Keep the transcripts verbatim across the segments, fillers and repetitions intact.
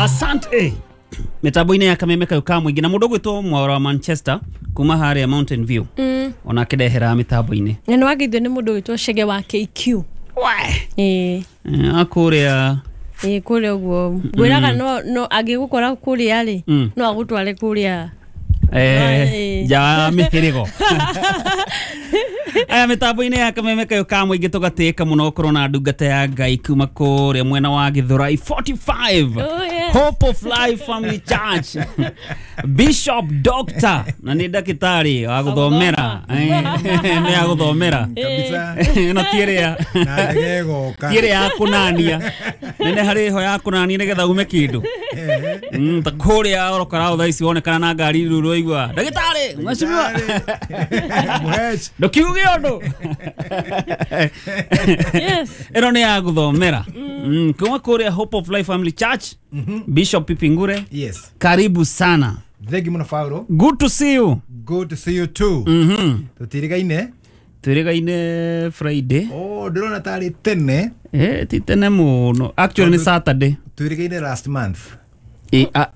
Asante. Mitambo-inĩ ya Kameme kayo ka mũingĩ na mũndũ ũgwĩtwo Mwaura wa Manchester kuma harĩa Mountain View mm. ona akĩndehera mĩtambo-inĩ. Na nĩ wageithio nĩ mũndũ ũgwĩtwo Chege wa K Q. We. Ĩĩ. Akũrĩa ĩĩ kũrĩa ũguo ngwĩraga no no angĩgũkora kũrĩa rĩ Mm. no agũtware kũrĩa eh ja mĩhĩrĩgo. Aya mitambo-inĩ ya Kameme kayo ka mũingĩ tũgatĩĩka mũno gũkorwo na ndungata ya Ngai kuma kũrĩa mwena wa Githurai forty-five. Oh, yes. Hope of Life Family Church. Bishop Doctor na nĩ ndagĩtarĩ wa gũthomera. Nĩ ya gũthomera kabisa. Ĩno ti ĩrĩa na ndege ĩgoka. Ti ĩrĩa ya kũnania. Nene harĩ ho ya kũnania nĩgetha ume kĩndũ. Mm, ta kũrĩa orokora thaa ici wonekana na ngari rĩu rũigua ndagĩtarĩ mheshimiwa Mũheci. Ndukiuge ũndũ. Yes. Ĩno nĩ ya gũthomera. Mm, kuma kũrĩa Hope of Life Family Church. Bishop Pipingure. Yes. Karibu sana. Thank you mũno Paulo. Good to see you. Good to see you too. Mhm. Tũtirigaine. Twĩrĩgaine Friday. Oh, ndĩrona tarĩ tene. Eh, ti tene mũno. Actually nĩ Saturday. Twĩrĩgaine last month. Eh, ah.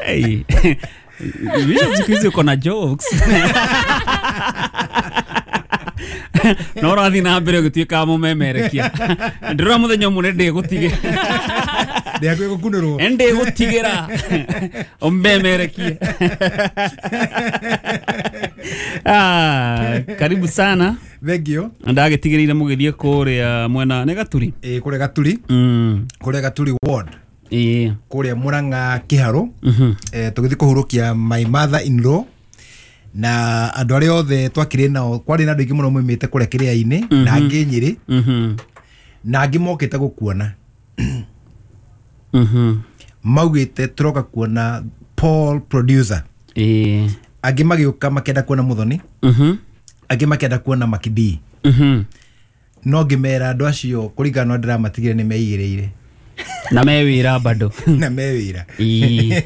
Hey. Bishop siku hizi uko na jokes. No ũrathiĩ na mbere ũgĩtuĩka mũmemerekia. Ndĩrona mũthenya ũmwe ndĩgũtige. Ndĩhakuhĩ gũkunũrwo. Ndĩgũtigĩra ũmemerekie. Ah, karibu sana. Thank you. Ndagĩtigĩrĩire mũgĩthiĩ kũrĩa mwena nĩ Gaturi. Ĩĩ kũrĩa Gaturi. Mm. Kũrĩa Gaturi ward. Ĩĩ. Kũrĩa Murang'a Kĩharũ. Mhm. Eh, tũgĩthiĩ kũhurũkia my mother in law na andũ arĩa othe twakĩrĩ nao kwarĩ na andũ aingĩ mũno moimĩte kũrĩa kĩrĩa-inĩ na angĩ Nyĩrĩ Mhm. na angĩ mokĩte gũkuona. Mhm. Maugĩte tũroka kuona Paul producer. Ĩĩ. Angĩ magĩũka makĩenda kuona Muthoni. Mhm. Angĩ makĩenda kuona Makidi. Mhm. No ngĩmera andũ acio kũringana na ndĩramatigire nĩ meigĩrĩire. Na me wĩra bado. Na me wĩra. Ĩĩ.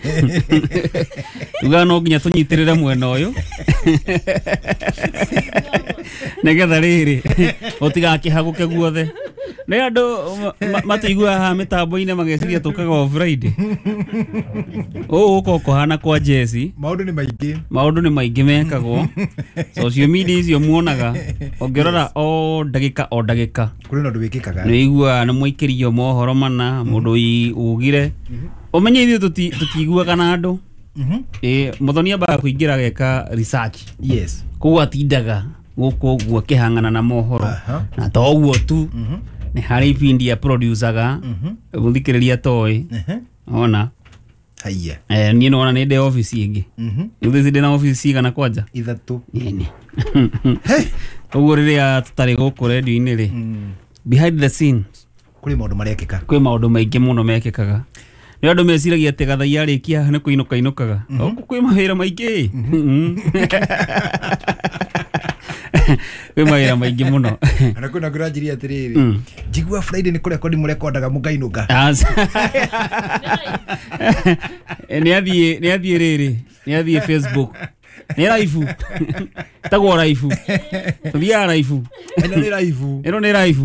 Tuga no nginya tũnyitĩrĩre mwena ũyũ. Nĩgetha rĩrĩ ũtigakĩhagũke guothe. Nĩ andũ matũiguaga haha mĩtambo-inĩ mageciria tũkaga o Friday. Ũũ ũka ũkũhana kwa Jesse. Maũndũ nĩ maingĩ. Maũndũ nĩ maingĩ mekagwo. Social media icio muonaga ũngĩrora o ndagĩka o ndagĩka. Kũrĩ na ũndũ wĩkĩkaga. Nĩ ũiguaga nĩ mũikĩrio mohoro mana mũndũ ugire. Ũmenye ithuĩ tũtiiguaga na andũ. Ĩĩ Muthoni ambaga kũingĩra ageka research. Yes. Koguo atindaga gũkũ ũguo akĩhang'ana na mohoro. Na to ũguo tu nĩ harĩ ibindi ya producaga mũthikĩrĩria toĩ. Ona. Haiya. Eh, niĩ nĩwona nĩ ndĩ office ĩngĩ. Rĩu thaa ici ndĩ na office cigana kwanja? Ithatũ. Nini. Ũguo rĩrĩa tũtarĩ gũkũ radio-inĩ rĩ, behind the scenes kũrĩ maũndũ marekĩka. Kwĩ maũndũ maingĩ mũno mekĩkaga. Nĩ andũ meciragia atĩ Gathai arĩkia nĩ kũinũka inũkaga. Gũkũ kwĩ mawĩra maingĩ. Kwĩ mawĩra maingĩ mũno. Ona kwĩna ngũranjirie atĩrĩrĩ, njigua Friday nĩ kũrekondi mũrekondaga mũkainũka. Nĩ athiĩ, nĩ athiĩ rĩrĩ, nĩ athiĩ Facebook. Nĩ live. Tagwo live. Tũthiaga live. Ĩno nĩ live. Ĩno nĩ live.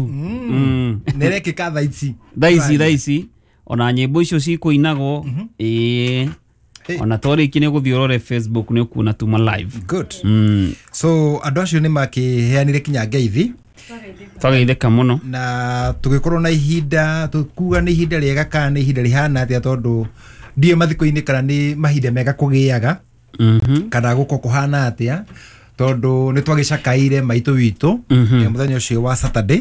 Nĩ ĩrekĩka thaa ici. Thaa ici, thaa ici. Ona nyĩmbo icio cikũinagwo. Ĩĩ. Ona twarĩkia nĩ ũgũthiĩ ũrore Facebook nĩ ũkuona tuma live. Good. So andũ acio nĩ makĩheanire kinya ngeithi. Twageithĩka mũno. Na tũgĩkorwo na ihinda, tũkuga nĩ ihinda rĩega kana nĩ ihinda rĩhana atĩa tondũ ndiũĩ mathiko-inĩ kana nĩ mahinda mega kũgĩaga. Kana gũko kũhana atĩa tondũ nĩ twagĩcakaire maitũ witũ mũthenya ũcio wa Saturday.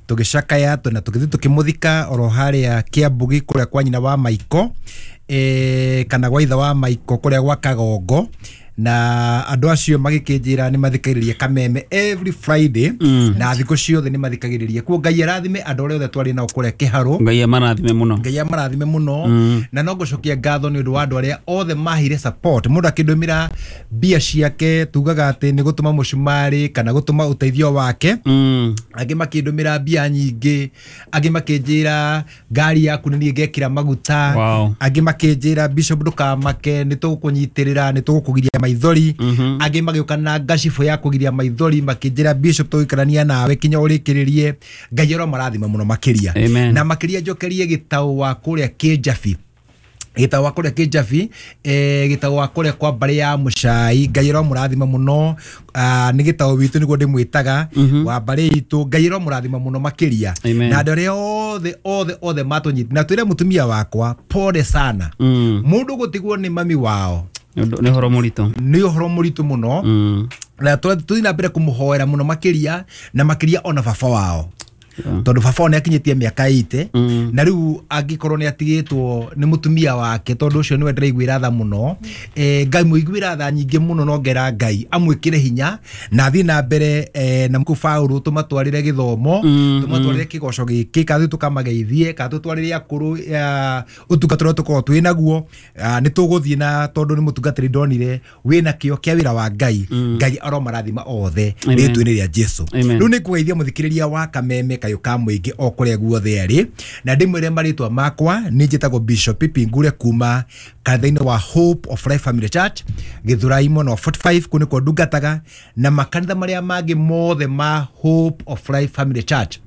Tũgĩcakaya na tũgĩthiĩ tũkĩmũthika oro harĩa Kĩambugi kũrĩa kwa nyina wa Maiko, eh, kana gwa ithe wa Maiko kũrĩa gwa Kagongo. Na andũ acio magĩkĩnjĩra nĩ mathikagĩrĩria Kameme every Friday na thikũ ciothe nĩ mathikagĩrĩria. Kuo Ngai arathime andũ arĩa othe twarĩ nao kũrĩa Kĩharũ. Ngai amarathime mũno. Ngai amarathime mũno. Na no ngũcokia ngatho nĩ ũndũ wa andũ arĩa othe maheire support. Mũndũ akĩndũmĩra mbia ciake tugaga atĩ nĩ gũtũma mũcumarĩ kana gũtũma ũteithio wake. Angĩ makĩndũmĩra mbia nyingĩ, angĩ makĩnjĩra ngari yaku nĩ niĩ ngekĩra maguta, angĩ makĩnjĩra Bishop ndũkamake nĩ tũgũkũnyitĩrĩra nĩ tũgũkũgiria maithori angĩ magĩũka na ngacibũ ya kũgiria maithori makĩnjĩra bishop tũgũikarania nawe kinya ũrĩkĩrĩrie. Ngai aromarathima mũno makĩria. Amen. Na makĩria njokerie gĩtaũ wa kũrĩa Kĩnjabi, gĩtaũ wa kũrĩa Kĩnjabi, eh, gĩtaũ wa kũrĩa kwa mbarĩ ya Mũcai. Ngai aromũrathima mũno. Ah, nĩ gĩtaũ witũ nĩguo ndĩmwĩtaga, wa mbarĩ itũ. Ngai aromũrathima mũno makĩria. Amen. Na andũ arĩa othe othe othe matũnyiti na twĩre mũtumia wakwa pole sana. Mm. Mũndũ gũtigwo nĩ mami wao Nĩ ũndũ- nĩ ũhoro mũritũ. Nĩ ũhoro mũritũ mũno. Mm. Na tũthiĩ na mbere kũmũhoera mũno makĩria, na makĩria ona baba wao, Yeah. tondũ baba wao nĩ akinyĩtie mĩaka ĩite. Mm. Na rĩu angĩkorwo nĩ atigĩtwo nĩ mũtumia wake, tondũ ũcio nĩwe ndĩraiguĩra tha mũno, eh, Ngai mũiguĩra tha nyingĩ mũno, no ngera Ngai amwĩkĩre hinya na athiĩ na mbere, eh, na Paũlũ tũmatwarĩre gĩthomo, Mm, tũmatwarĩre kĩgoco gĩkĩ, kana tũthiĩ tũkamageithie, kana tũtwarĩre akũrũ eh, ũtungata ũrĩa tũkoragwo twĩ naguo. Ah, nĩ tũgũthiĩ, na tondũ nĩ mũtungatĩri ndonire wĩna kĩo kĩa wĩra wa Ngai. Ngai aromarathima othe Amen. rĩtwa-inĩ rĩa Jesu. Amen. Rĩu nĩ ngũgeithia mũthikĩrĩria wa Kameme Kayũ ka Mũingĩ o kũrĩa guothe arĩ, na ndĩmwĩre marĩtwa makwa nĩ njĩtagwo Bishop Pipi Ngure kuma kanitha-inĩ wa Hope of Life Family Church, Gĩthũrai mwena wa forty-five, kũu nĩkuo ndungataga, na makanitha marĩa mangĩ mothe ma Hope of Life Family Church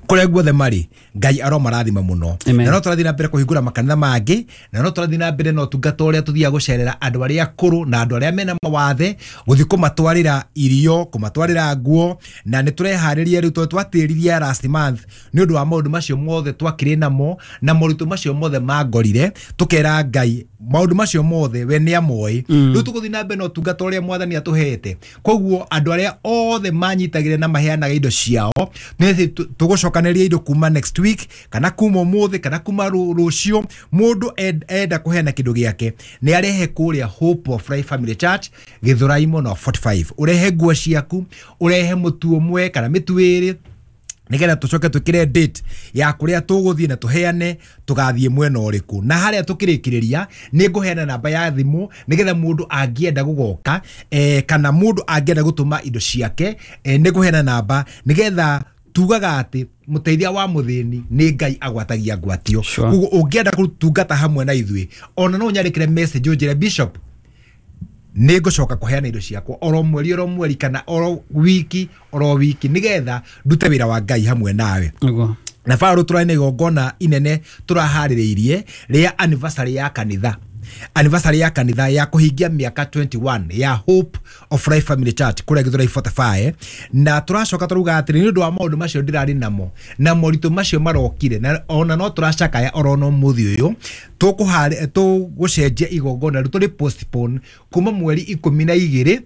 kũrĩa guothe marĩ. Ngai aromarathima mũno. Amen. Na no tũrathiĩ na mbere kũhingũra makanitha mangĩ, na no tũrathiĩ na mbere na ũtungata ũrĩa tũthiaga gũcerera andũ arĩa akũrũ na andũ arĩa mena mawathe, gũthiĩ kũmatwarĩra irio, kũmatwarĩra nguo. Na nĩ tũreharĩria rĩu, tondũ twatĩririe last month nĩ ũndũ wa maũndũ macio mothe twakĩrĩ namo na moritũ macio mothe mangorire, tũkera Ngai maũndũ macio mothe we nĩ amoĩ. Rĩu tũgũthiĩ na mbere na ũtungata ũrĩa mwathani atũhete. Koguo andũ arĩa othe manyitagĩrĩra na maheanaga indo ciao, nĩ tũgũcokanĩria indo kuma next week, kana kuma ũmũthĩ, kana kuma rũ- rũciũ. Mũndũ end- enda kũheana kĩndũ gĩake nĩ arehe kũrĩa Hope of Life Family Church, Gĩthũrai mwena wa forty-five. Ũrehe nguo ciaku, ũrehe mũtu ũmwe kana mĩtu ĩrĩ, nĩgetha tũcoke twĩkĩre date ya kũrĩa tũgũthiĩ na tũheane tũgathiĩ mwena ũrĩkũ. Na harĩa tũkĩrĩkĩrĩria nĩ ngũheana namba ya thimũ, nĩgetha mũndũ angĩenda gũgoka, eh, kana mũndũ angĩenda gũtũma indo ciake, eh, nĩ ngũheana namba, nĩgetha tugaga atĩ mũteithia wa mũthĩni nĩ Ngai agwatagia ngwatio. Sure. Koguo ũngĩenda gũtungata hamwe na ithuĩ, ona no ũnyandĩkĩre message ũnjĩre bishop nĩ ngũcoka kũheana indo ciakwa oro mweri oro mweri, kana oro wiki oro wiki, nĩgetha ndute wĩra wa Ngai hamwe nawe. Nĩguo. Na Paũlũ tũrarĩ na igongona inene tũraharĩrĩirie rĩa anniversary ya kanitha, anniversary ya kanitha ya kũhingia mĩaka twenty-one ya Hope of Life Family Church kũrĩa Gĩthũrai forty-five. Na tũracoka tũrauga atĩrĩ, nĩ ũndũ wa maũndũ macio ndĩrarĩ namo na moritũ macio marokire, na ona no tũracakaya oro no mũthĩ ũyũ, tũkũharĩ tũgũcenjia igongona rĩu, tũrĩ postpone kuma mweri ikũmi na igĩrĩ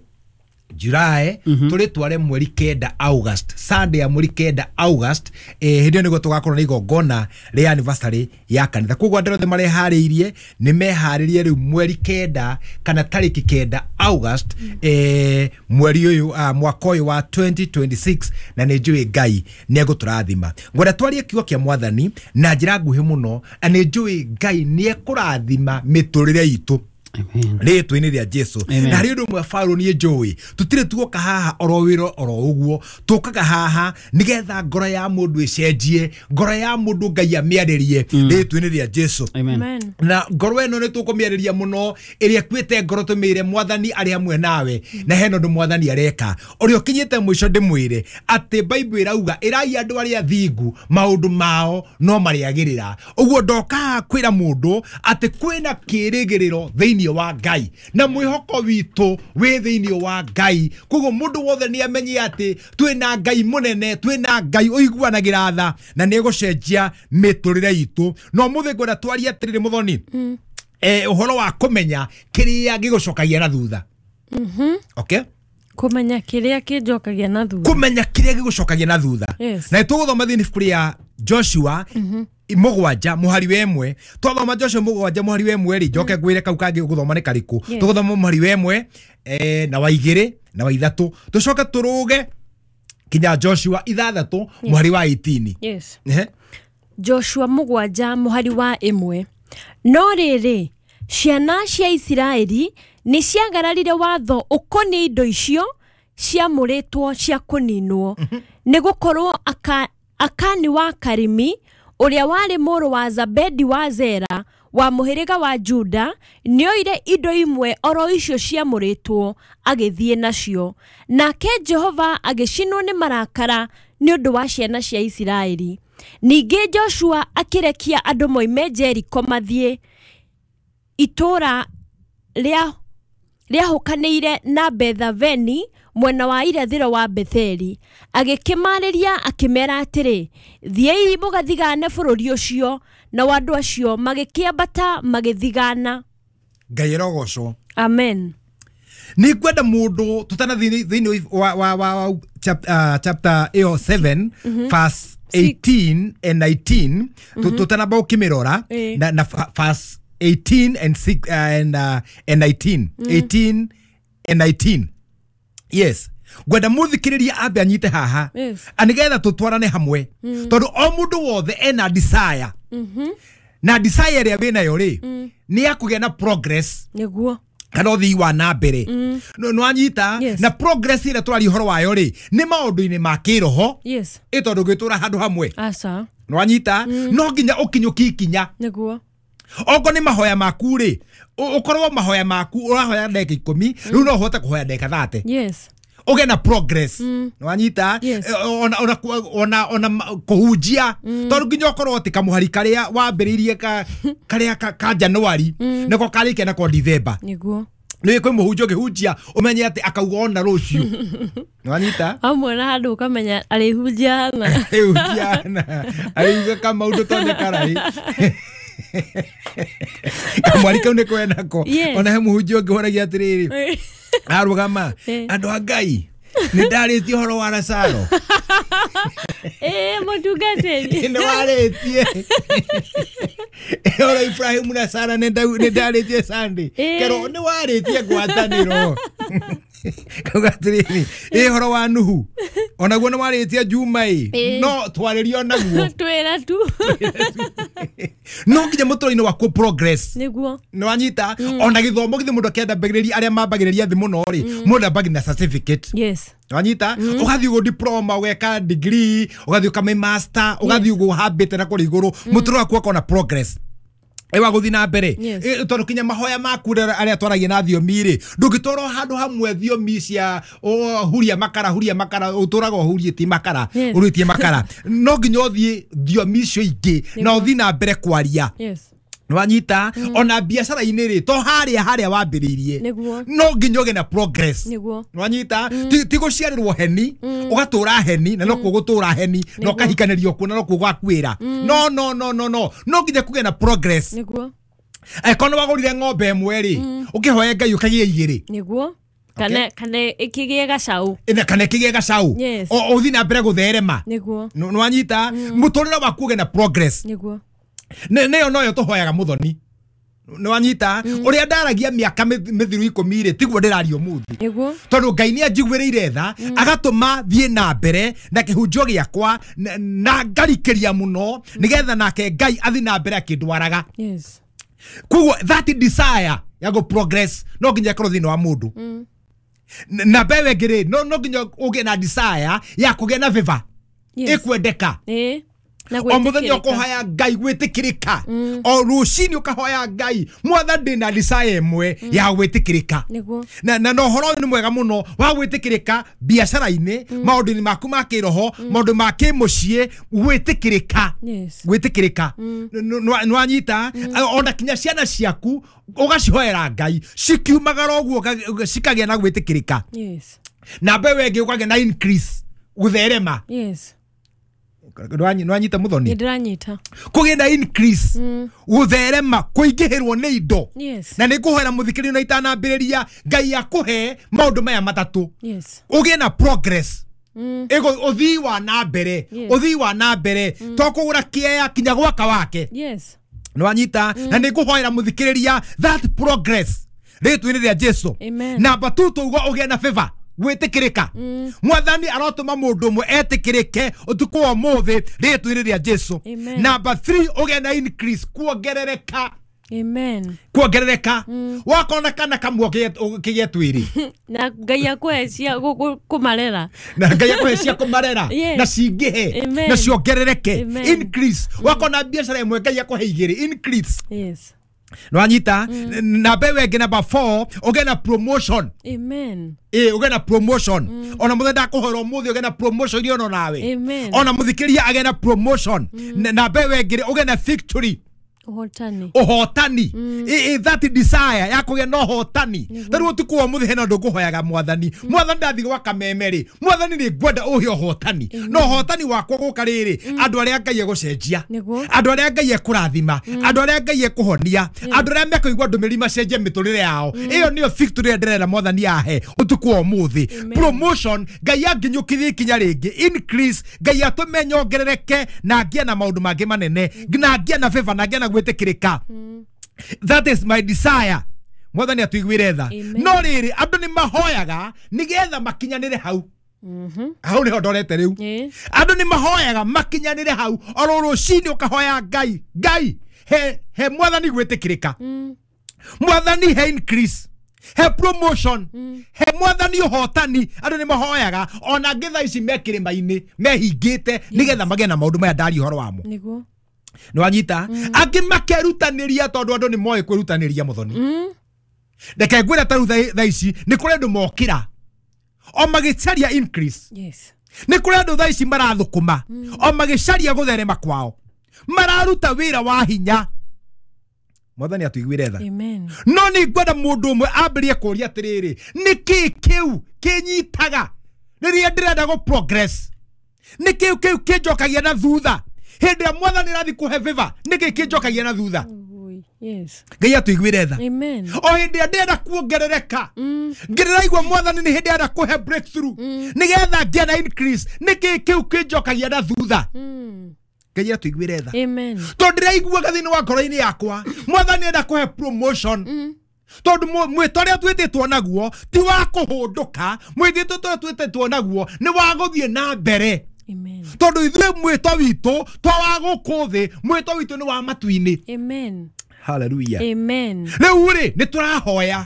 July, tũrĩtware mweri kenda August, Sunday ya mweri kenda August. eh, hĩndĩ ĩyo nĩguo tũgakorwo na igongona rĩa anniversary ya kanitha. Koguo andũ othe mareharĩirie nĩ meharĩrie rĩu mweri kenda kana tarĩki kenda August, eh, mweri ũyũ, ah, mwaka ũyũ wa twenty twenty-six. Na nĩ njũĩ Ngai nĩ egũtũrathima. Ngwenda twarie kiugo kĩa mwathani na njĩra nguhĩ mũno, na nĩ njũĩ Ngai nĩ ekũrathima mĩtũrĩre itũ Amen. rĩtwa-inĩ rĩa Jesu. Amen. Na harĩ ũndũ ũmwe Paũlũ niĩ njũĩ, tũtirĩ tuoka haha oro wĩra oro ũguo, tũkaga haha nĩgetha ngoro ya mũndũ ĩcenjie, ngoro ya mũndũ Ngai amĩarĩrie rĩtwa-inĩ rĩa Jesu. Amen. Amen. Na ngoro ĩno nĩ tũkũmĩarĩria mũno, ĩrĩa ĩkuĩte ngoro, tũmĩre mwathani arĩ hamwe nawe, na hena ũndũ mwathani areka ũrĩa ũkinyĩte mũico. Ndĩmwĩre atĩ Bible ĩrauga ĩrai andũ arĩa thingu maũndũ mao no marĩagĩrĩra. Ũguo ndoka haha kwĩra mũndũ atĩ kwĩna kĩrĩgĩrĩro thĩinĩ wa Ngai, na mwĩhoko witũ wĩ thĩinĩ wa Ngai. Koguo mũndũ wothe nĩ amenye atĩ twĩna Ngai mũnene, twĩna Ngai ũiguanagĩra tha, na nĩ egũcenjia mĩtũrĩre itũ. No mũthĩ ngwenda twarie atĩrĩrĩ mũthoni, eh, ũhoro wa kũmenya kĩrĩa gĩgũcokagia na thutha. Okay? Kũmenya kĩrĩa kĩnjokagia na thutha. Kũmenya kĩrĩa gĩgũcokagia na thutha. Yes. Na tũgũthoma thĩinĩ ibuku rĩa Joshua mũgwanja mũhari wa ĩmwe. Twathoma Joshua mũgwanja mũhari wa ĩmwe rĩ, njoke ngwĩre kau kangĩ ũgũthoma nĩ karĩkũ. Yes. Tũgũthoma mũhari wa ĩmwe, eh, na wa igĩrĩ na wa ithatũ, tũcoke tũrũge kinya Joshua ithathatũ mũhari wa eighteen. Yes. Ehe. Joshua mũgwanja mũhari wa ĩmwe. No rĩrĩ, ciana cia Isiraeli nĩ ciagararire watho ũkoniĩ indo icio ciamũrĩtwo cia kũninwo, nĩ gũkorwo aka, Akani wa Karimi ũrĩa warĩ mũrũ wa Zabedi wa Zera wa mũhĩrĩga wa Juda nĩoire indo imwe oro icio ciamũrĩtwo agĩthiĩ nacio. Nake Jehova agĩcinwo nĩ marakara nĩ ũndũ wa ciana cia Isiraeli. Ningĩ Joshua akĩrekia andũ moime Jeriko mathiĩ itũũra rĩa rĩahũkanĩire na Bethaveni mwena wa irathĩro wa Betheli. Agĩkĩmarĩria akĩmera atĩrĩ, thiĩi mũgathigane bũrũri ũcio. Nao andũ acio magĩkĩambata magĩthigana. Ngai ĩrogocwo. Amen. Nĩ ngwenda mũndũ tũtanathiĩ thĩinĩ wa, wa, wa, wa chap, uh, chapter ĩyo seven verse eighteen and nineteen, tũtanamba ũkĩmĩrora Ĩĩ. na, na fa- verse eighteen and, six, uh, and, uh, and nineteen, eighteen and nineteen. Yes, ngwenda mũthikĩrĩria ambe anyite haha Yes. nĩgetha tũtwarane hamwe, tondũ o mũndũ wothe ena desire, na desire ĩrĩa wĩnayo rĩ nĩ ya kũgĩa na progress Nĩguo. kana ũthii wa na mbere. Nĩ wanyita? Yes. Na progress ĩrĩa tũraria ũhoro wayo rĩ nĩ maũndũ-inĩ ma kĩroho, Yes. ĩ tondũ ũngĩtũra handũ hamwe, Aca. nĩ wanyita, no nginya ũkinyũkie ikinya. Nĩguo. Okorwo nĩ mahoya maku rĩ, ũ- ũkorwo mahoya maku ũrahoya ndagĩka ikũmi, rĩu no ũhote kũhoya ndagĩka thate, Yes. ũgĩe na progress. Nĩ wanyita? Yes. Eh, ona ona ona ona ma- kũhunjia, tondũ nginya ũkorwo atĩ kamũhari karĩa wambĩrĩirie ka karĩa ka, ka January nĩko karĩkia nako December. Nĩguo. Nĩ kwĩ mũhunjia ũngĩhunjia ũmenye atĩ akauga ona rũciũ. Nĩ wanyita? Hamwe na handũ ũkamenya arĩhunjia hana. Arĩhunjia hana, arĩuga kamaũndũ to nĩ karai kamwari kau nĩ kwenako. Yes. Ona he mũhunjia ũngĩ horagia atĩrĩrĩ, arũgama, Eh. andũ a Ngai, nĩ ndarĩtie ũhoro wa Lazaro. Ĩĩ mũtungatĩri. Nĩ warĩtie ũhoro Ibrahimu na Sara, nĩ ndau- nĩ ndarĩtie Sunday. Eh. Kerwo nĩ warĩtie ngwatanĩro, kauga atĩrĩrĩ, ĩ ũhoro wa Nuhu onaguo nĩ warĩtie Juma ĩ, Eh. no twarĩrie onaguo. Twĩra tu. No nginya mũtũrĩre-inĩ waku progress. Nĩguo. Nĩ wanyita? Ona gĩthomo githĩ mũndũ akĩenda mbagĩrĩria arĩa mambagĩrĩria thĩ mũno rĩ, mũndũ ambagĩrĩria na certificate. Yes. Wanyita? Ũgathiĩ ũguo diploma, ũgeka degree, ũgathiĩ ũkame master, ũgathiĩ ũguo ũhambĩte na kũrĩa igũrũ, mũtũrĩre waku ũkona progress ĩ wa gũthiĩ na mbere. Yes. Ĩ, tondũ kinya mahoya maku rĩrĩa arĩa twaragia na thiomi rĩ, ndũngĩtwarwo handũ hamwe thiomi cia o, huria makara, huria makara, ũtũraga ũhurĩtie makara, Yes. ũrĩtie makara, no nginya ũthiĩ thiomi icio ingĩ na ũthiĩ na mbere kwaria. Yes. Nĩwanyita? Ona biacara-inĩ rĩ, to harĩa harĩa wambĩrĩirie, Nĩguo. no nginya ũgĩe na progress. Nĩguo. Nĩwanyita? Ti ti gũciarĩrwo heni ũgatũra heni na nokuo gũtũra heni na Nĩguo. ũkahikanĩrio kuo na nokuo gwakuĩra. No, no, no, no, no, no nginya kũgĩe na progress. Nĩguo. Angĩkorwo nĩ wagũrire ng'ombe ĩmwe rĩ, ũkĩhoe Ngai ũkagĩe igĩrĩ. Nĩguo. Kana kana ĩkĩgĩe gacau. Ĩna- kana ĩkĩgĩe gacau. Yes. O- ũthiĩ na mbere gũtherema. Nĩguo. Nĩ wanyita? Mũtũrĩre waku ũgĩe na progress. Nĩguo. Nĩ nĩyo noyo tũhoyaga mũthoni. Nĩ wanyita? Ũrĩa ndaragia mĩaka mĩth- mĩthiru ikũmi rĩ, tiguo ndĩraria ũmũthĩ, Nĩguo. tondũ Ngai nĩ anjiguĩrĩire tha agatũma thiĩ na mbere na kĩhunjio gĩakwa na- na ngarikĩria mũno nĩgetha nake Ngai athiĩ na mbere akĩndwaraga. Yes. Koguo that desire ya go progress no nginya ĩkorwo thĩinĩ wa mũndũ. N- na mbewe ĩngĩ rĩ, no no nginya ũgĩe na desire ya kũgĩa na favor, Yes. ĩkwendeka. Ĩĩ. Na O mũthenya gwĩtĩkĩrĩka. ũkũhoya Ngai gwĩtĩkĩrĩka, o rũcinĩ ũkahoya Ngai, Mwathani, ndĩna desire ĩmwe ya gwĩtĩkĩrĩka. Nĩguo. na na na ũhoro ũyũ nĩ mwega mũno wa gwĩtĩkĩrĩka biacara-inĩ, maũndũ-inĩ maku ma kĩroho, maũndũ ma kĩmũciĩ, gwĩtĩkĩrĩka, Yes. gwĩtĩkĩrĩka. Nĩ wanyita? Ona kinya ciana ciaku ũgacihoera Ngai cikiumagara ũguo ũka- cikagĩa na gwĩtĩkĩrĩka. Yes. Na mbewe ĩngĩ ũkagĩa na increase, gũtherema. Yes. Nĩ wanyita mũthoni? Nĩ ndĩranyita. Kũgĩa na increase, gũtherema, kũingĩhĩrwo nĩ indo. Yes. Na nĩ ngũhoera mũthikĩrĩrio na itanambĩrĩria Ngai akũhe maũndũ maya matatũ, Yes. ũgĩe na progress, ĩgo ũthii wa na mbere, Yes. ũthii wa na mbere to kũgũra kĩea kinya gwaka wake. Yes. Nĩ wanyita? Na nĩ ngũhoera mũthikĩrĩria that progress rĩtwa-inĩ rĩa Jesu. Amen. Namba tu tauga ũgĩe na favor, gwĩtĩkĩrĩka. Mwathani arotũma mũndũ ũmwe etĩkĩrĩke ũtukũ wa ũmũthĩ rĩtwa-inĩ rĩa Jesu. Amen. Namba three, ũgĩe na increase, kuongerereka. Amen. Kuongerereka, wakona kana kamwe kĩgĩe twĩrĩ. Na Ngai akũhe cia gũ- gũ- kũmarera. Na Ngai akũhe cia kũmarera Yes. na cingĩhe Amen. na ciongerereke. Amen. Increase, wakona biacara ĩmwe, Ngai akũhe igĩrĩ, increase. Yes. Nwanyita na mbewe ĩngĩ number four ũgĩe na promotion. Amen. Ĩ ũgĩe na promotion. Ona mũthenya ndakũhoera ũmũthĩ ũgĩe na promotion iria ono nawe. Amen. Ona mũthikĩria agĩe na promotion. Na mbewe ĩngĩ ũgĩe na victory. Ũhotani. Ũhotani. Ĩ ĩ that desire ya kũgĩa na ũhotani. Tarĩu ũtukũ wa ũmũthĩ hena ũndũ ngũhoyaga mwathani. Mwathani ndathiĩ gwa kameme rĩ, mwathani nĩ ngwenda ũhe ũhotani. Na ũhotani wakwa gũka rĩrĩ, andũ arĩa Ngai egũcenjia, Nĩguo. andũ arĩa Ngai ekũrathima, andũ arĩa Ngai ekũhonia, andũ arĩa mekũigua ndũmĩrĩri macenjie mĩtũrĩre yao. Ĩyo nĩyo victory ĩrĩa ndĩrenda mwathani ahe ũtukũ wa ũmũthĩ. Amen. Promotion Ngai anginyũkithie ikinya rĩngĩ. Increase Ngai atũme nyongerereke na ngĩe na maũndũ mangĩ manene, na ngĩe na favor, na ngĩe na gwĩtĩkĩrĩka. That is my desire. Mwathani atuiguire tha. Amen. No rĩrĩ andũ nĩ mahoyaga nĩgetha makinyanĩre hau. Hau nĩho ndorete rĩu. Ĩ. Andũ nĩ mahoyaga makinyanĩre hau. Oro rũcinĩ ũkahoya Ngai, Ngai he he mwathani gwĩtĩkĩrĩka, mwathani he increase, he promotion, he mwathani ũhotani. Andũ nĩ mahoyaga ona angĩ thaa ici me kĩrĩma-inĩ mehingĩte nĩgetha magĩe na maũndũ maya ndaria ũhoro wamo. Nĩguo. Nĩ wanyita? Angĩ makerutanĩria tondũ andũ nĩ moĩ kwĩrutanĩria mũthoni. Reke ngwĩre ta rĩu thaa- thaa ici nĩ kũrĩ andũ mokĩra o magĩcaria increase. Yes. Nĩ kũrĩ andũ thaa ici marathũkũma o magĩcaria gũtherema kwao, mararuta wĩra wa hinya. Mwathani atuiguire tha. Amen. No nĩ ngwenda mũndũ ũmwe ambĩrĩrie kũũria atĩrĩrĩ, nĩ kĩĩ kĩu kĩnyitaga rĩrĩa ndĩrenda gũ progress? Nĩ kĩu kĩu kĩnjokagia na thutha hĩndĩ ĩrĩa mwathani arathiĩ kũhe favor? Nĩ kĩĩ kĩnjokagia na thutha? Ui. Yes. Ngai atuiguire tha. Amen. O hĩndĩ ĩrĩa ndĩrenda kuongerereka, ngĩrĩraigua mwathani nĩ hĩndĩ arenda kũhe breakthrough nĩgetha ngĩe na increase, nĩ kĩĩ kĩu kĩnjokagia na thutha? Mm. Ngai atuiguire tha. Amen. Tondũ ndĩraiguaga thĩinĩ wa ngoro-inĩ yakwa mwathani enda kũhe promotion, tondũ mwĩto ũrĩa twĩtĩtwo naguo ti wa kũhũndũka, mwĩtĩtwo ũrĩa twĩtĩtwo naguo nĩ wa gũthiĩ na mbere. Amen. Tondũ ithuĩ mwĩto witũ to wa gũkũ thĩ, mwĩto witũ nĩ wa matu-inĩ. Amen. Hallelujah. Amen. Rĩu rĩ nĩ tũrahoya,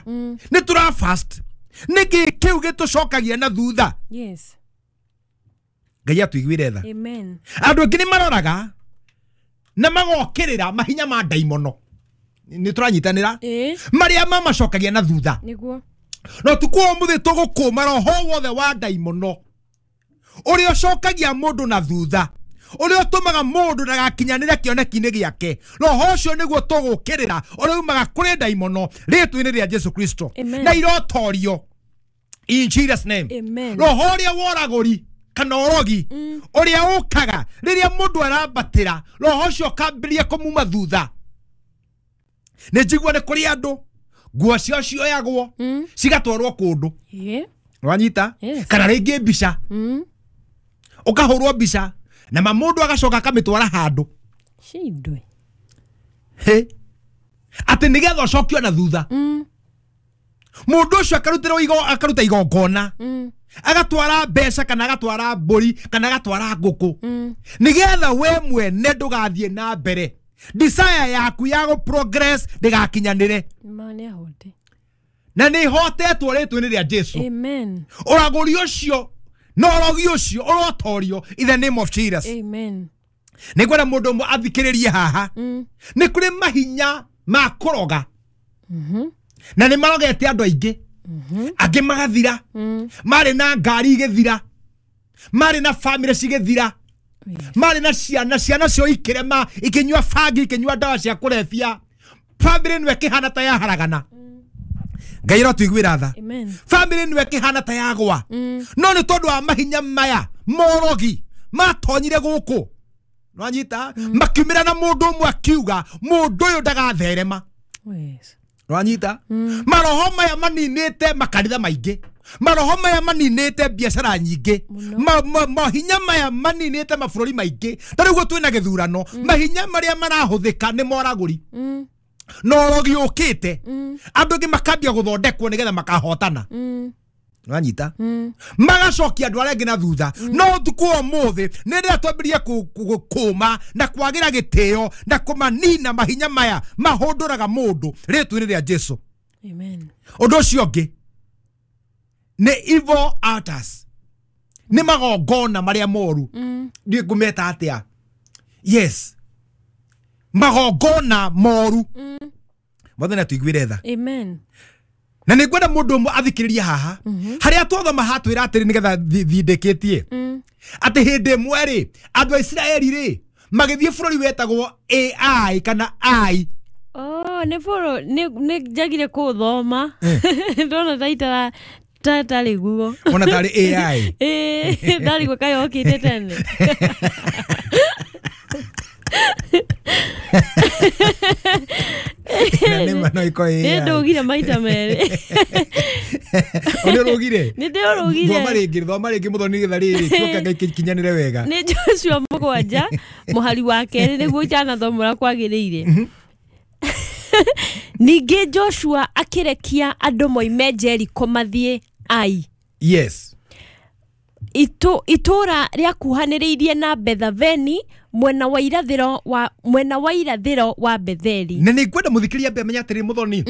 nĩ tũra fast, nĩkĩ kĩu gĩtũcokagia na thutha? Yes. Ngai atuiguire tha. Amen. Andũ angĩ nĩ maroraga na magokĩrĩra mahinya ma ndaimono, nĩ tũranyitanĩra, Ĩ. marĩa mamacokagia na thutha. Nĩguo. No tukũ wa ũmũthĩ tũgũkũma roho wothe wa ndaimono ũrĩa ũcokagia mũndũ na thutha, ũrĩa ũtũmaga mũndũ ndagakinyanĩre kĩoneki-inĩ gĩake. Roho ũcio nĩguo tũgũkĩrĩra, ũrĩa umaga kũrĩ ndaimono rĩtwa-inĩ rĩa Jesu Kristo, Amen. na irotorio in Jesus name. Amen. Roho ũrĩa woragũri kana ũrogi ũrĩa ũkaga rĩrĩa mũndũ arambatĩra, roho ũcio ũkambĩrĩria kũmuma thutha. Nĩ njigua nĩ kũrĩ andũ nguo ciao cioyagwo cigatwarwo kũndũ. Ĩ. Wanyita? Yes. Kana rĩngĩ mbica, Mm. ũkahũrwo mbica na ma mũndũ agacoka akamĩtwara handũ. Shindwe. Hĩ, atĩ nĩgetha ũcokio na thutha. Mm. Mũndũ ũcio akarutĩrwo igo, akaruta igongona, Mm. agatwara mbeca kana agatwara mbũri kana agatwara ngũkũ, Mm. nĩgetha we mwene ndũgathiĩ na mbere, desire yaku ya gũ progress ndĩgakinyanĩre. Ma nĩ ahote. Na nĩ ihotetwo rĩtwa-inĩ rĩa Jesu. Amen. Ũragũri ũcio na ũrogi ũcio ũrotorio in the name of Jesus. Amen. Nĩ ngwenda mũndũ ũmwe athikĩrĩrie haha. Mm. Nĩ kũrĩ mahinya ma kũroga, na nĩ marogete andũ aingĩ, angĩ magathira, marĩ na ngari igĩthira, marĩ na bamĩrĩ cigĩthira, Yes. marĩ na ciana, ciana cio ikĩrema, ikĩnyua bangi, ikĩnyua ndawa cia kũrebia, bamĩrĩ nĩwe ĩkĩhana ta yaharagana. Ngai arotuiguĩra tha. Amen. Bamĩrĩ nĩwe ĩkĩhana ta yagwa, no nĩ tondũ wa mahinya maya morogi matonyire gũkũ, nwanyita, makiumĩra na mũndũ ũmwe akiuga mũndũ ũyũ ndagatherema. Yes. Nwanyita? Maroho maya maninĩte makanitha maingĩ, maroho maya maninĩte biacara nyingĩ, Mũno. ma, mahinya maya maninĩte mabũrũri maingĩ. Ta rĩu twĩna gĩthurano, mahinya marĩa marahũthĩka nĩ moragũri Mm. na ũrogi ũkĩte, andũ angĩ makambia gũthondekwo nĩgetha makahotana. Mm. Nwanyita? Mm. Magacokia andũ arĩa angĩ na thutha. No ũtukũ wa ũmũthĩ nĩ rĩrĩa twambĩrĩrie kũma na kwagĩra gĩtĩo na kũmanina mahinya maya mahũndũraga mũndũ rĩtwa-inĩ rĩa Jesu. Amen. Ũndũ ũcio ũngĩ nĩ evil altars, nĩ magongona marĩa moru. Mm. Ndiũĩ ngũmeta atĩa. Yes, magongona moru. Mm. Mwathani atuiguire tha. Amen. Na nĩ ngwenda mũndũ ũmwe athikĩrĩrie haha harĩa twathoma hatwĩra atĩrĩ nĩgetha thindĩkĩtie atĩ hĩndĩ ĩmwe rĩ andũ a Isiraeli rĩ magĩthiĩ bũrũri wetagwo A I kana I. Oh, nĩ bũrũ nĩ njagire kũthoma ndona ta itara tarĩ guo ona tarĩ A I. Ĩĩ ndarigwo kaĩ okĩte tene. Na nĩ ma no iko A I. Nĩ ndũgire maita merĩ. Nĩ ũrũgire? Nĩ ndĩũrũgire. Thoma rĩngĩ, thoma rĩngĩ mũthoni nĩgetha rĩrĩ kĩoka Ngai kĩkinyanĩre wega. Nĩ Joshua mũgwanja mũhari wa kerĩ nĩguo itanathoma ũrĩa kwagĩrĩire. Ningĩ Joshua akĩrekia andũ moime Jericho mathiĩ Ai. Yes. Itu itũra rĩakuhanĩrĩirie na Bethaveni mwena wa irathĩro wa mwena wa irathĩro wa Betheli. Na nĩ ngwenda mũthikĩria ambe amenye atĩrĩ mũthoni.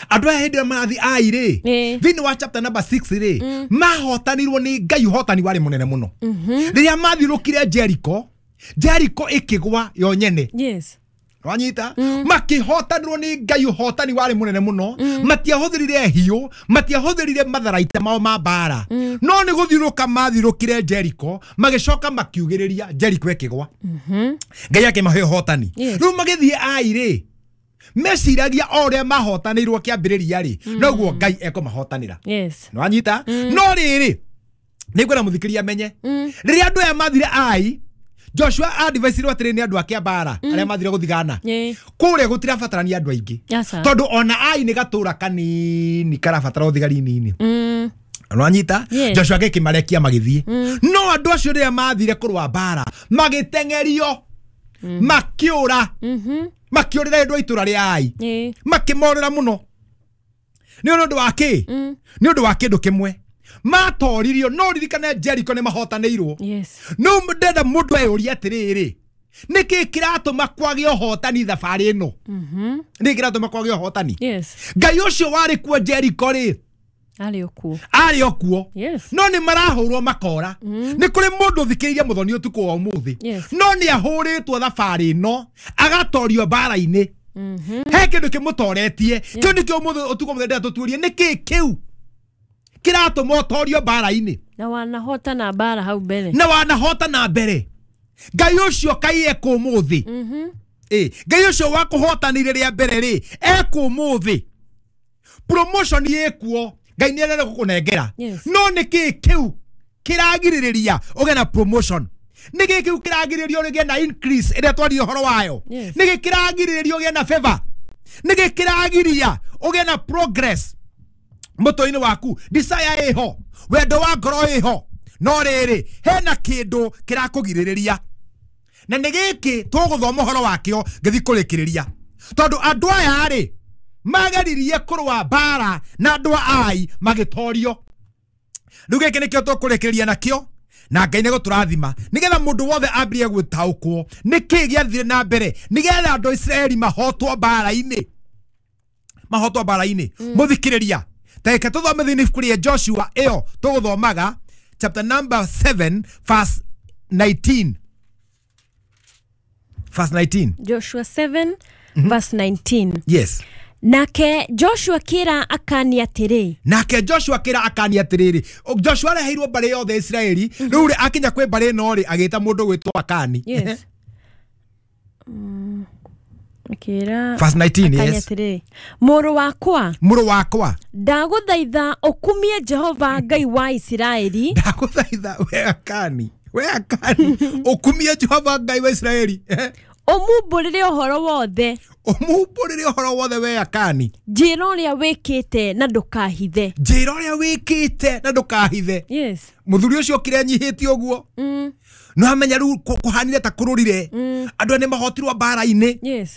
Andũ aya hĩndĩ ĩrĩa marathiĩ Ai rĩ thĩinĩ wa chapter number six rĩ mahotanirwo nĩ Ngai, ũhotani warĩ mũnene mũno. Rĩrĩa mathiũrũkire Jericho, Jericho ĩkĩgwa yo nyene. Yes. Wanyita makihotanirwo nĩ Ngai, ũhotani warĩ mũnene mũno. Matiahũthĩrire hiũ, matiahũthĩrire matharaita mao ma mbara, no nĩ gũthiũrũka mathiũrũkire Jericho magĩcoka makiugĩrĩria Jericho ĩkĩgwa. Ngai akĩmahe ũhotani. Rĩu magĩthiĩ Ai rĩ meciragia o ũrĩa mahotanĩirwo kĩambĩrĩria rĩ noguo Ngai ekũmahotanĩra. Yes. Nĩwanyita? No rĩrĩ nĩ ngwenda mũthikĩria amenye rĩrĩa andũ aya mathire Ai, Joshua advice-irwo atĩrĩ nĩ andũ ake a mbara arĩa mathire gũthigana kũrĩa gũtirabatarania andũ aingĩ tondũ ona Ai nĩ gatũra kanini karabatara ũthigari nini. Nĩwanyita? Joshua agĩkĩmarekia magĩthiĩ, no andũ acio rĩrĩa mathire kũrũa mbara magĩteng'erio makĩũra makĩũrĩra andũ a itũra rĩa Ai makĩmorĩra mũno. Nĩ ũndũ wa kĩ? Nĩ ũndũ wa kĩndũ kĩmwe matoririo. No ririkane Jericho nĩ mahotanĩirwo. No ndenda mũndũ eyũrie atĩrĩrĩ, nĩkĩ kĩratũma kwage ũhotani thabarĩ ĩno? Nĩkĩ kĩratũma kwage ũhotani? Ngai ũcio warĩ kuo Jericho rĩ arĩ o kuo, arĩ o kuo, no nĩ marahũrwo makora. Nĩ kũrĩ mũndũ ũthikĩrĩirie mũthoni ũtukũ wa ũmũthĩ no nĩ ahũrĩtwo thabarĩ ĩno agatorio mbara-inĩ. He kĩndũ kĩmũtoretie kĩu nĩkĩo ũmũthĩ ũtukũ mũthĩ ndĩrenda tũtuĩrie nĩkĩ kĩu kĩratũma ũtorio mbara-inĩ. Na wanahotana mbara hau mbere, na wanahotana mbere. Ngai ũcio kai ekũ ũmũthĩ. Ĩ Ngai ũcio wakũhotanire rĩa mbere rĩ ekũ ũmũthĩ. Promotion ĩkuo, Ngai nĩ arenda gũkũnengera, no nĩkĩ kĩu kĩragirĩrĩria ũgĩe na promotion? Nĩkĩ kĩu kĩragirĩrĩria ũgĩe na increase ĩrĩa twaria ũhoro wayo? Nĩkĩ kĩragirĩrĩria ũgĩe na favor? Nĩkĩ kĩragiria ũgĩe na progress mũtwe-inĩ waku? Desire ĩho, wendo wa ngoro ĩho, no rĩrĩ hena kĩndũ kĩrakũgirĩrĩria, na nĩ gĩkĩ tũgũthoma ũhoro wakĩo ngĩthiĩ kũrĩkĩrĩria. Tondũ andũ aya rĩ mageririe kũrũa mbara na andũ a Ai magĩtorio. Rĩu gĩkĩ nĩkĩo tũkũrĩkĩrĩria nakĩo, na Ngai nĩ gũtũrathima nĩgetha mũndũ wothe ambĩrĩrie gũtaũkwo nĩkĩ gĩathire na mbere nĩgetha andũ a Isiraeli mahotwo mbara-inĩ, mahotwo mbara-inĩ. Mũthikĩrĩria, ta tũthome thĩinĩ ibuku rĩa Joshua ĩyo tũgũthomaga chapter number seven verse nineteen. Verse nineteen. Joshua seven verse nineteen. Yes. Nake Joshua kĩra Akani atĩrĩ. Nake Joshua kĩra Akani atĩrĩrĩ. Joshua areheirwo mbarĩ yothe Isiraeli. Rĩu rĩ akinya kwĩ mbarĩ ĩno rĩ agĩta mũndũ gwĩtwo Akani. Yes. Kĩra verse nineteen. Yes. Atĩrĩ, mũrũ wakwa, mũrũ wakwa, ndagũthaitha ũkumie Jehova Ngai wa Isiraeli. Ndagũthaitha we Akani, we Akani, ũkumie Jehova Ngai wa Isiraeli. Ũmumbũrĩre ũhoro wothe, ũmumbũrĩre ũhoro wothe we Akani, njĩra ũrĩa wĩkĩte na ndũkahithe, njĩra ũrĩa wĩkĩte na ndũkahithe. Yes. Mũthuri ũcio okire anyihĩtie ũguo no amenya rĩu kũhanire ta kũrũrire andũ aya nĩ mahotirwo mbara-inĩ. Yes.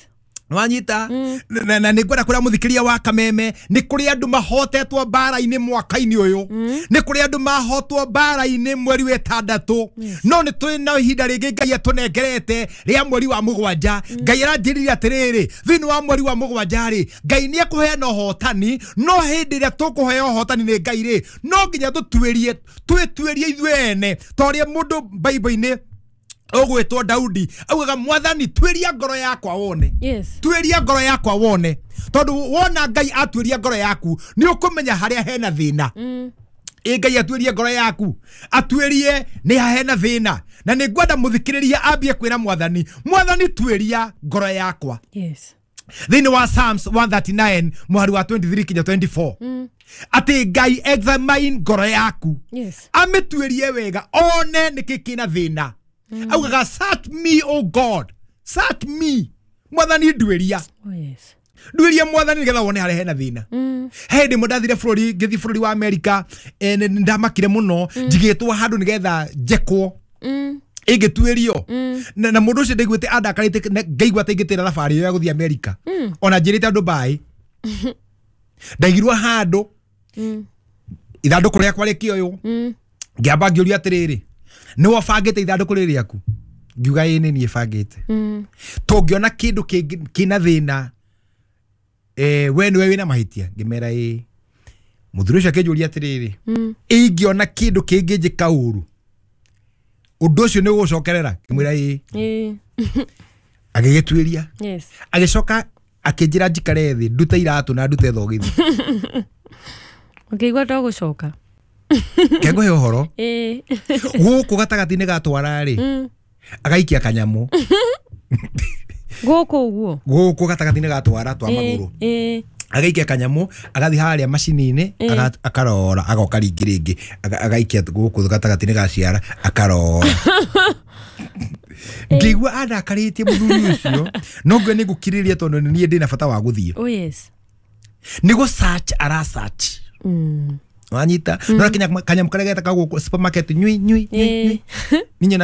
Wanyita na nĩ ngwenda kũrĩa mũthikĩria wa Kameme nĩ kũrĩ andũ mahotetwo mbara-inĩ mwaka-inĩ ũyũ, nĩ kũrĩ andũ mahotwo mbara-inĩ mweri wa ĩtandatũ, no nĩ tũrĩ na ihinda rĩngĩ Ngai atũnengerete rĩa mweri wa mũgwanja. Ngai aranjĩrire atĩrĩrĩ, thĩinĩ wa mweri wa mũgwanja rĩ Ngai nĩ ekũheana ũhotani, no hĩndĩ ĩrĩa tũkũheo ũhotani nĩ Ngai rĩ no nginya tũtuĩrie, twĩtuĩrie ithuĩ ene ta ũrĩa mũndũ Bible-inĩ Ũgwĩtwo Daudi augaga mwathani twĩria ngoro yakwa wone. Yes. Twĩria ngoro yakwa wone, tondũ wona Ngai atuĩria ngoro yaku nĩ ũkũmenya harĩa hena thĩna. Ĩ Ngai atuĩrie ngoro yaku, atuĩrie nĩ ha hena thĩna. Na nĩ ngwenda mũthikĩrĩria ambie kwĩra mwathani, mwathani tuĩria ngoro yakwa. Yes. Thĩinĩ wa Psalms one thirty-nine mũhari wa twenty-three kinya twenty-four atĩ Ngai examine ngoro yaku. Yes. Amĩtuĩrie wega one nĩkĩ kĩna thĩna. Augaga search me o God, search me, mwathani nduĩria. Oh yes. Nduĩria mwathani nĩgetha wone harĩa hena thĩna. He hĩndĩ ĩmwe ndathire bũrũri, ngĩthiĩ bũrũri wa Amerika, eh, nĩ ndamakire mũno, njigĩtwo handũ nĩgetha njekwo. Ĩngĩtuĩrio. Na, na mũndũ ũcio ndaiguĩte andakarĩte, ngaigua ta ingĩtĩra thabarĩ ĩyo ya gũthiĩ Amerika. Ona njĩrĩte andũ mbaĩ. Ndaigirwo handũ, ithandũkũ rĩakwa rĩkĩoywo. Ngĩamba ngĩũria atĩrĩrĩ, nĩwe ũbangĩte ithandũkũ rĩrĩ rĩaku? Ngiuga ĩĩ nĩ niĩ bangĩte. Tũngĩona kĩndũ kĩna thĩna, eh, we nĩwe wĩna mahĩtia? Ngĩmera ĩĩ. Mũthuri ũcio akĩnjũria atĩrĩrĩ, ingĩona kĩndũ kĩngĩnjĩka ũru, ũndũ ũcio nĩ ũgũcokerera? Ngĩmwĩra ĩĩ. Ĩĩ. Agĩgĩtuĩria. Yes. Agĩcoka akĩnjĩra njikare thĩ, ndute iratũ na ndute thogithi. Ũkĩigua to gũcoka. Kengũhe ũhoro. Ĩĩ. Gũkũ gatagatĩ-inĩ gatwara rĩ, agaikia kanyamũ. Gũkũ ũguo. Gũkũ gatagatĩ-inĩ gatwara twa magũrũ. Ĩĩ. Agaikia kanyamũ, agathiĩ harĩa macini-inĩ, akarora, agoka rĩngĩ rĩngĩ, agaikia gũkũ gatagatĩ-inĩ ga ciara, akarora. Ngĩigua andakarĩtie mũthuri ũcio, no ngwe nĩ ngũkirĩrĩria tondũ nĩ niĩ ndĩna bata wa gũthiĩ. Oh yes. Nĩ gũ search ara search. Mm. Wanyita, no kanyamũ karĩa getagwo gũkũ supermarket, nyui nyui nyui. Ninye